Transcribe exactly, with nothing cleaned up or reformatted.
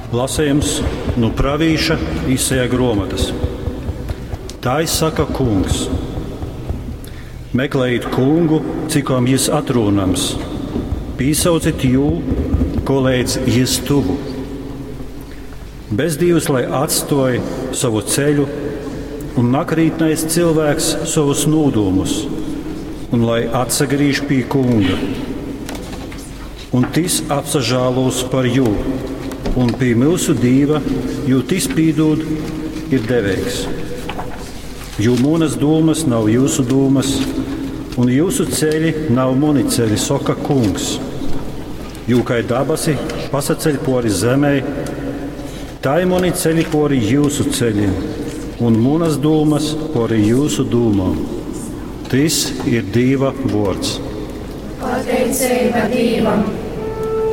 Lasījums no pravīša Isaija grāmatas. Tai saka kungs: Meklējiet kungu, cikom jis atrūnams, pīsaucit jū, koleidz jis tuvu. Bezdīvs lai atstoj savu ceļu, un nakrītnais cilvēks savus nūdūmus, un lai atsagrīž pie kunga. Un tis apsažālos par jū, un pie mūsu dīva, jo tis pīdūd, ir deveigs. Jo manas dūmas nav jūsu dūmas, un jūsu ceļi nav mani ceļi, saka kungs. Jo kai dabasi pasaceļ pori zemē, tai mani ceļi pori jūsu ceļiem, un manas dūmas pori jūsu dūmām. Tis ir Dīva vārds. Pateicība Dievam!